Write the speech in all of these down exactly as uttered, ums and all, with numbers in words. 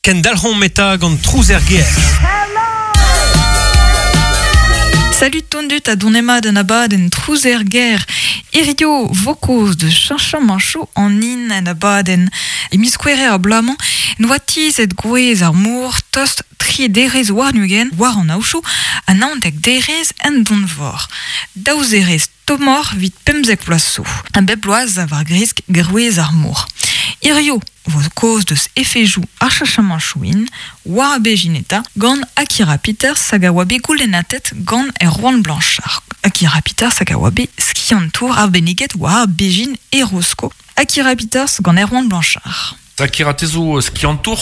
Kendalc'homp eta gant trouz er gêr. Salut tondut a donemad an abadenn trouz er gêr. Hirio vo kaoz de cheñchamanchoù an hin en abadenn. E miz Gouere ar bloaz-mañ n'oa tizhet gwrez ar mor tost tri derez warn-ugent war an aochoù ha naontek derez en donvor. Daou zerez tommoc'h 'vit pemzek vloaz zo. Ha bep bloaz a war gresk gwrez ar mor. Hirio vo kaoz deus efedoù ar cheñchamanchoù hin war ar bezhin eta gant Akira Peters hag a oa bet goulennatet gant Erwan Blanchard. Akira Peters hag a oa bet skiantour arbenniget war ar bezhin e Rosko. Akira Peters gant Erwan Blanchard. Akira te zo skiantour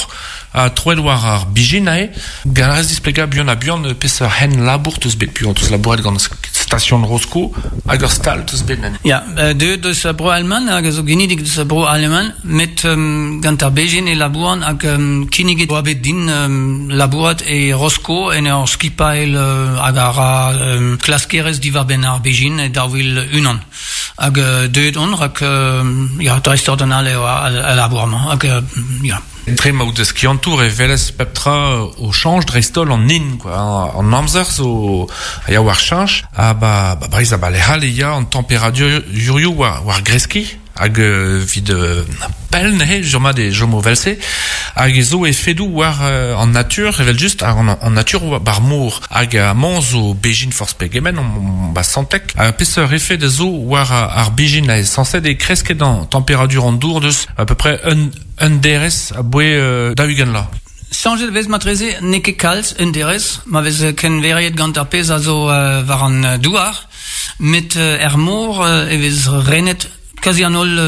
ha troet war ar bezhin aze. Gant a rez displegañ buan ha buan peseurt hent labour teus bet buan teus labouret gant station Rosko hag ur stal teus bet nen. Ya, euh, deuet deus a bro Alman hag a zo genidik deus a bro Alman met um, gant ar bezhin e labouran hag um, kinniget oa bet din um, labourat e Rosko en ur skipailh uh, hag a ra um, klaskerez diwar-benn ar bezhin e daou vil unan. Hag uh, deuet on rak uh, ya, dreist-ordinal eo al, al labour-mañ hag uh, ya. Dre ma out skiantour e welez pep tra o chañch dreist-holl an hin, quoi. An amzer zo a ya war chañch, ha ba, ba Breizh ha ba lec'h all e ya an temperadurioù war, war greskiñ, hag euh, 'vit euh, pell neuze sur-mat e chomo 'vel-se, hag e zo efedoù war euh, an natur, evel just, hag an, an natur war bar mor, hag amañ zo bezhin forzh pegement, on, on, ba Santec, ha peseurt efed a zo war ar bezhin a sañset e kresket an temperadur an dour deus à peu près un, un derez aboe euh, daou-ugent vloaz. Chañchet vez matreze n'eo ket kalz un derez, ma vez kenveriet gant ar pezh a zo euh, war an douar, met euh, er mor euh, e vez renet kazi an holl